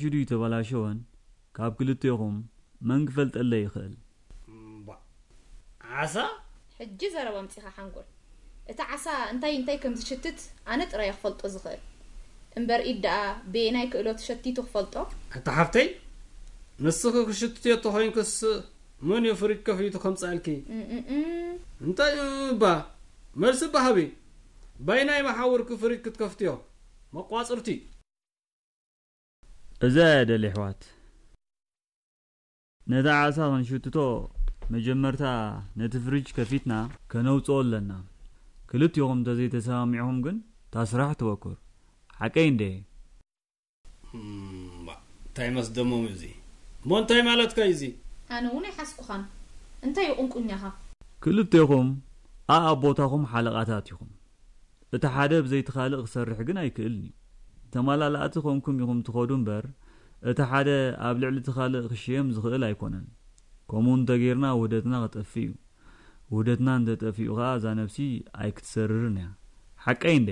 ሽዱ ይተበላሸወን ካብ ክልቴኹም መን ክፈልጠለይ ይኽእል? እምባ፣ ዓሳ? ሕጂ ዘረባ ኣምጺኻ ሓንጎል። እቲ ዓሳ እንታይ እንታይ ከም ዝሽትት ኣነ ጥራይ ክፈልጦ ዝኽእል። እምበር ኢድ ደኣ በየናይ ክእለቱ ሸቲቱ ክፈልጦ? ኣታ ሓፍተይ፣ ንስኺ ክሽትትዮ ተኾይንክስ መን እዩ ፍሪጅ ከፊቱ ከምጻልኪ? እምእም። እንታይ እባ? መልሲ ባሃቢ። ባይናይ መሓውርኪ ፍሪጅ ክትከፍትዮ። መቋጽርቲ። እዛ እያ ደል ኣሕዋት። ነታ ዓሳ ክንሽትቶ መጀመርታ ነቲ ፍሪጅ ከፊትና ከነውጽኦ ኣለና። ክልቲኹም እንተዘይተሰማሚዕኹም ግን እታ ስራሕ ትበኩር። ሓቀይ እንደ? እምባ፣ እንታይ መስደሞም እዚ? እሞ እንታይ ማለትካ እዩ እዚ? ኣነ እውን ኣይሓስኩኻን። እንታይ እዩ ቁንቁኛኻ? ክልቴኹም ኣኣብ ቦታኹም ሓለቓታት ኢኹም። እቲ ሓደ ብዘይቲ ካልእ ክሰርሕ ግን ኣይክእልን እዩ። ተማላላእቲ ኮንኩም ኢኹም ትኸዱ እምበር፣ እቲ ሓደ ኣብ ልዕሊ እቲ ካልእ ክሽየም ዝኽእል ኣይኮነን። ከምኡ እንተጌርና ውህደትና ክጠፍእ እዩ። ውህደትና እንተጠፊኡ ኸኣ እዛ ነብሲ ኣይክትሰርርን እያ። ሓቀይ እንደ?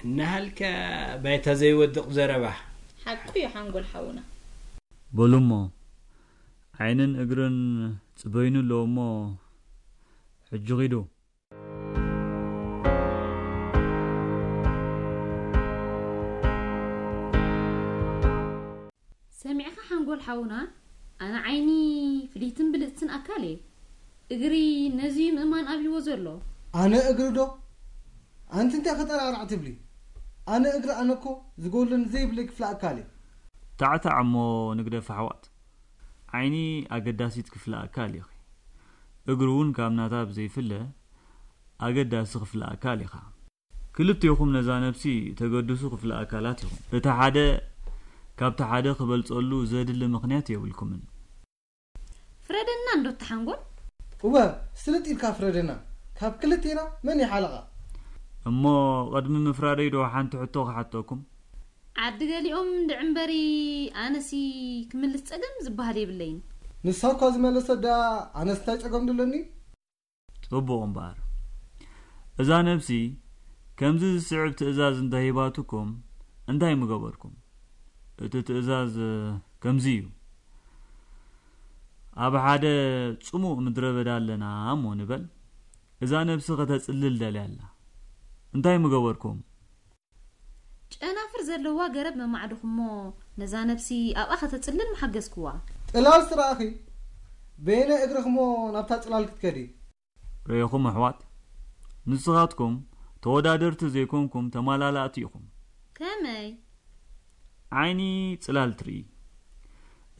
እናሃልካ ባይታ ዘይወድቕ ዘረባ። ሓቁ እዩ ሓንጎል ሓውና። በሉ እሞ ዓይንን እግርን ጽበዩኒ ኣለዎ እሞ ሕጂ ኺዱ። ሰሚዕኻ ሓንጎል ሓውና፣ ኣነ ዓይኒ ፍልይትን ብልጽትን ኣካል እየ። እግሪ ነዚ እዩ ምእማን ኣብይዎ ዘሎ። ኣነ እግሪ ዶ? ኣንቲ እንታይ ከጠራዕራዕ ትብሊ? ኣነ እግሪ ኣነ እኮ ዝጎድለኒ ዘይብለይ ክፍለ ኣካል እየ። ታዕታዕ እሞ ንግደፍ ኣሕዋት። ዓይኒ ኣገዳሲት ክፍለ ኣካል ኢኺ። እግሪ እውን ካብ ናታ ብዘይፍለ ኣገዳሲ ክፍለ ኣካል ኢኻ። ክልቴኹም ነዛ ነብሲ ተገድሱ ክፍለ ኣካላት ኢኹም። እቲ ሓደ ካብቲ ሓደ ክበልጸሉ ዘድሊ ምኽንያት የብልኩምን። ፍረደና እንዶ ተሓንጎል። እወ ስልጥ ኢልካ ፍረደና። ካብ ክልቴና መን ይሓለቓ? እሞ ቅድሚ ምፍራደይ ዶ ሓንቲ ሕቶ ክሓተኩም? ዓዲ ገሊኦም እንድዒ እምበሪ ኣነሲ ክምልስ ጸገም ዝበሃል የብለይን። ንሳ እኳ ዝመለሰት ደኣ ኣነስ እንታይ ጸገም ደለኒ? ጽቡቕ እምበኣር፣ እዛ ነብሲ ከምዚ ዝስዕብ ትእዛዝ እንተ ሂባትኩም እንታይ ምገበርኩም? እቲ ትእዛዝ ከምዚ እዩ። ኣብ ሓደ ጽሙእ ምድረ በዳ ኣለና እሞ ንበል፣ እዛ ነብሲ ከተጽልል ደልያ ኣላ። እንታይ ምገበርኩም? ጨናፍር ዘለዋ ገረብ መማዕድኹሞ ነዛ ነብሲ ኣብኣ ከተጽልል ምሓገዝክዋ። ጥላል ስራኺ በየነ እግርኽሞ ናብታ ጽላል ክትከዲ። ርእኹም ኣሕዋት፣ ንስኻትኩም ተወዳደርቲ ዘይኮንኩም ተማላላእቲ ኢኹም። ከመይ? ዓይኒ ጽላል ትርኢ፣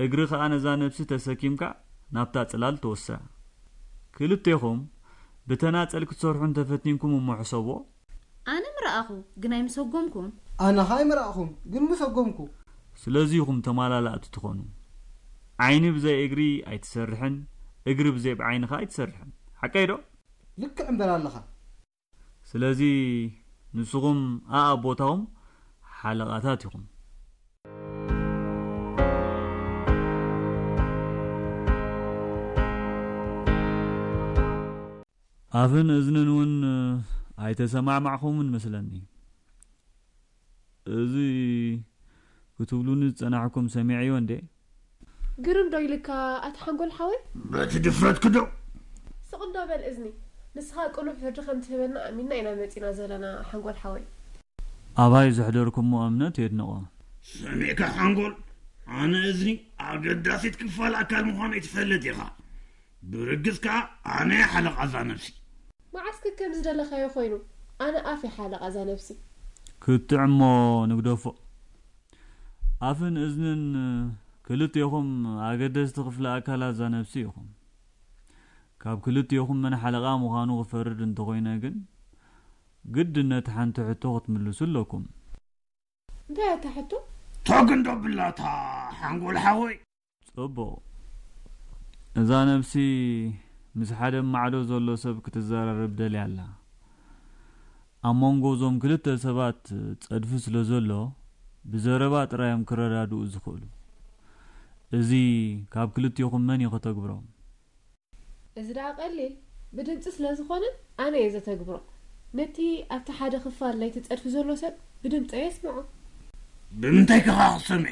እግሪ ኸኣ ነዛ ነብሲ ተሰኪምካ ናብታ ጽላል ትወስዳ። ክልቴኹም ብተናጸል ክትሰርሑ እንተፈቲንኩም እሞ ሕሰብዎ። ኣነ ምረኣኹ ግን ኣይምሰጎምኩን። ኣነ ኸኣ ኣይምረኣኹን ግን ምሰጎምኩ። ስለዚ ኢኹም ተማላላእቲ ትኾኑ። ዓይኒ ብዘይ እግሪ ኣይትሰርሕን፣ እግሪ ብዘይ ዓይኒ ኸኣ ኣይትሰርሕን። ሓቀይ ዶ? ልክዕ እምበር ኣለኻ። ስለዚ ንስኹም ኣኣብ ቦታኹም ሓለቓታት ኢኹም። ኣፍን እዝንን እውን ኣይተሰማዕማዕኹምን መስለኒ። እዚ ክትብሉኒ ዝጸናሕኩም ሰሚዐዮ እንዴ? ግርም ዶ ኢልካ ኣቲ ሓንጎል ሓወይ? በቲ ድፍረትኪ ዶ? ስቕ እንዶ በል እዝኒ። ንስኻ ቅኑዕ ፍርዲ ከም ትህበና ኣሚንና ኢና መጺና ዘለና ሓንጎል ሓወይ። ኣባይ ዘሕደርኩሞ እምነት የድንቖ። ሰሚዕካ ሓንጎል፣ ኣነ እዝኒ ኣገዳሲት ክፋል ኣካል ምዃነይ ትፈልጥ ኢኻ። ብርግጽ ከኣ ኣነ እየ ሓለቓ እዛ ነብሲ። መዓስ ከ ከም ዝደለኻዮ ኮይኑ፣ ኣነ ኣፍ እየ ሓለቓ እዛ ነብሲ። ክትዕ እሞ ንግደፎ። ኣፍን እዝንን ክልቴኹም ኣገደስቲ ክፍለ ኣካላት እዛ ነብሲ ኢኹም። ካብ ክልቴኹም መን ሓለቓ ምዃኑ ክፈርድ እንተኾይነ ግን፣ ግድን ነቲ ሓንቲ ሕቶ ክትምልሱ ኣለኩም። እንታይ እያ እታ ሕቶ? ቶግ እንዶ ብላታ ሓንጎል ሓወይ። ጽቡቕ። እዛ ነብሲ ምስ ሓደ ማዕዶ ዘሎ ሰብ ክትዘራረብ ደልያ ኣላ። ኣብ መንጎ እዞም ክልተ ሰባት ጸድፊ ስለ ዘሎ፣ ብዘረባ ጥራይ እዮም ክረዳድኡ ዝኽእሉ። እዚ ካብ ክልቴኹም መን እዩ ከተግብሮ? እዚ ደኣ ቀሊል፣ ብድምጺ ስለ ዝኾነ ኣነ እየ ዘተግብሮ። ነቲ ኣብቲ ሓደ ክፋል ናይቲ ጸድፊ ዘሎ ሰብ ብድምጸይ የስምዖ። ብምንታይ ከኻ ክሰምዕዮ?